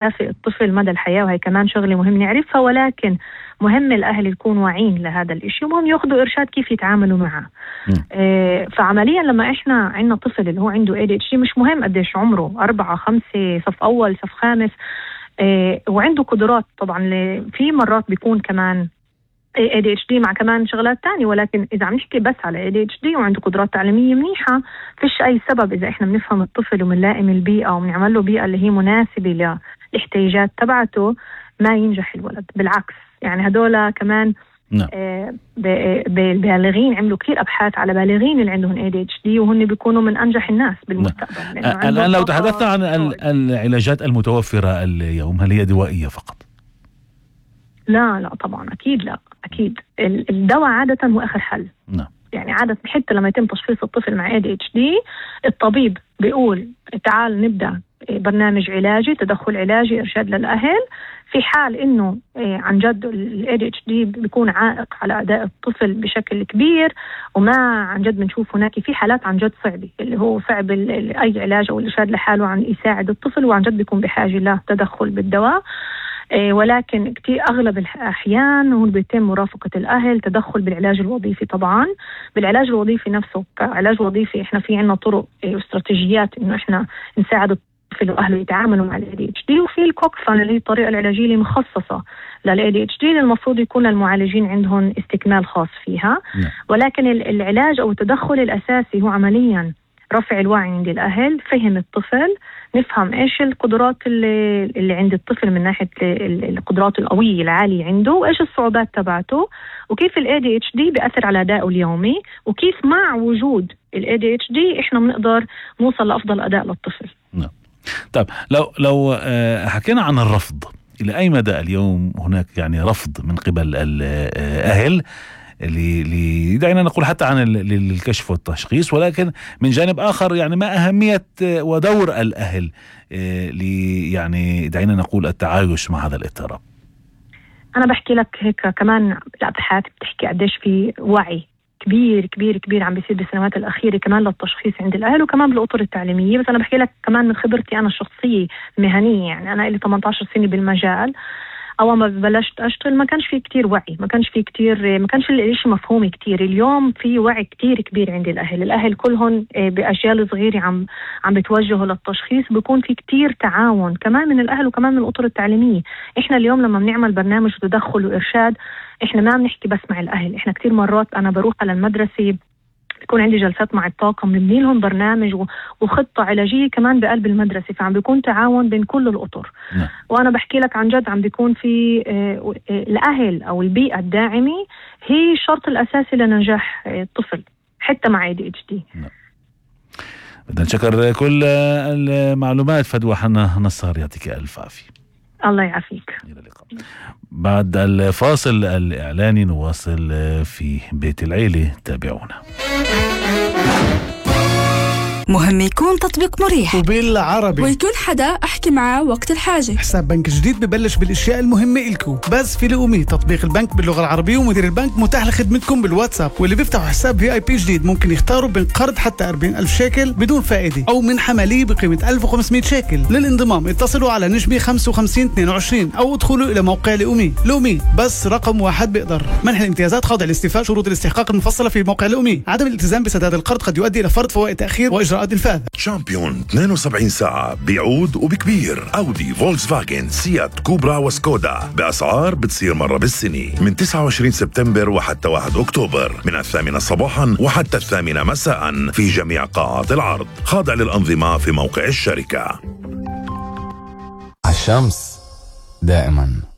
يكافئ الطفل مدى الحياة، وهي كمان شغلة مهم نعرفها، ولكن مهم الأهل يكونوا واعين لهذا الإشي ومهم يأخذوا إرشاد كيف يتعاملوا معه. فعمليا لما إحنا عندنا طفل اللي هو عنده ADHD، مش مهم قديش عمره، 4 5 صف أول صف خامس، وعنده قدرات طبعا. في مرات بيكون كمان ADHD مع كمان شغلات تانية، ولكن إذا عم نحكي بس على ADHD وعنده قدرات تعليمية منيحة، فيش أي سبب إذا إحنا بنفهم الطفل ومنلائم البيئة وبنعمل له بيئة اللي هي مناسبة للاحتياجات تبعته ما ينجح الولد. بالعكس يعني هدول كمان بالبالغين عملوا كثير أبحاث على بالغين اللي عندهم ADHD وهن بيكونوا من أنجح الناس بالمستقبل. الآن لو تحدثنا عن العلاجات المتوفرة اليوم، هل هي دوائية فقط؟ لا طبعا أكيد لا، أكيد الدواء عادة هو آخر حل. يعني عادة حتى لما يتم تشخيص الطفل مع ADHD الطبيب بيقول تعال نبدأ برنامج علاجي، تدخل علاجي، إرشاد للأهل. في حال إنه عن جد ال ADHD بيكون عائق على أداء الطفل بشكل كبير وما عن جد بنشوف هناك في حالات عن جد صعبة اللي هو صعب أي علاج أو الإرشاد لحاله عن يساعد الطفل وعن جد بيكون بحاجة له تدخل بالدواء. ولكن كتير أغلب الأحيان هو بيتم مرافقة الأهل، تدخل بالعلاج الوظيفي. طبعا بالعلاج الوظيفي نفسه كعلاج وظيفي إحنا في عنا طرق واستراتيجيات إنه إحنا نساعد الطفل وأهله يتعاملوا مع ADHD، وفي الكوكفان اللي هي الطريقة العلاجية اللي مخصصة ADHD اللي المفروض يكون المعالجين عندهم استكمال خاص فيها. ولكن العلاج أو التدخل الأساسي هو عمليا رفع الوعي عند الأهل، فهم الطفل، نفهم إيش القدرات اللي عند الطفل من ناحية القدرات القوية العالية عنده، وإيش الصعوبات تبعته، وكيف ADHD بيأثر على أدائه اليومي، وكيف مع وجود ADHD إحنا بنقدر نوصل لأفضل أداء للطفل. طيب لو حكينا عن الرفض، إلى أي مدى اليوم هناك يعني رفض من قبل الأهل اللي دعينا نقول حتى عن الكشف والتشخيص، ولكن من جانب آخر يعني ما أهمية ودور الأهل يعني دعينا نقول التعايش مع هذا الاضطراب؟ أنا بحكي لك هيك كمان الأبحاث بتحكي قديش في وعي كبير كبير كبير عم بيصير بالسنوات الأخيرة كمان للتشخيص عند الأهل وكمان بالأطر التعليمية. بس أنا بحكي لك كمان من خبرتي أنا الشخصية مهنية، يعني أنا لي 18 سنة بالمجال. أول ما بلشت أشتغل ما كانش فيه كتير وعي، ما كانش الإشي مفهوم كتير. اليوم في وعي كتير كبير عند الأهل كلهم بأجيال صغيرة عم بتوجهوا للتشخيص، بيكون في كتير تعاون كمان من الأهل وكمان من الأطر التعليمية. إحنا اليوم لما بنعمل برنامج تدخل وإرشاد إحنا ما بنحكي بس مع الأهل، إحنا كتير مرات أنا بروح على المدرسة بيكون عندي جلسات مع الطاقم، بنبني لهم برنامج وخطة علاجية كمان بقلب المدرسة، فعم بيكون تعاون بين كل الأطر. وأنا بحكي لك عن جد عم بيكون في الأهل أو البيئة الداعمة هي الشرط الأساسي لنجاح الطفل حتى مع ADHD. بدنا نشكر كل المعلومات فدوى حنا نصار، يعطيك ألف عافية. الله يعافيك. إلى اللقاء. بعد الفاصل الإعلاني نواصل في بيت العيلة، تابعونا. مهم يكون تطبيق مريح وبالعربي ويكون حدا أحكي معاه وقت الحاجة. حساب بنك جديد ببلش بالاشياء المهمة إلكو بس في لقومي. تطبيق البنك باللغة العربية ومدير البنك متاح لخدمتكم بالواتساب، واللي بيفتحوا حساب VIP جديد ممكن يختاروا بين قرض حتى 40,000 شيكل بدون فائدة أو منحة مالية بقيمة 1500 شيكل. للانضمام اتصلوا على نجمة 5522 أو ادخلوا إلى موقع لقومي بس رقم واحد بيقدر. منح الامتيازات خاضع لاستيفاء شروط الاستحقاق المفصلة في موقع لقومي. عدم الالتزام بسداد القرض قد يؤدي إلى فرض فوائد تأخير وإجراءات إنفاذ. شامبيون 72 ساعة بيعود وبكبير. أودي، فولكسفاجن، سيات، كوبرا وسكودا بأسعار بتصير مرة بالسنة من 29 سبتمبر وحتى 1 أكتوبر من 8 صباحا وحتى 8 مساء في جميع قاعات العرض. خاضع للأنظمة في موقع الشركة. الشمس دائما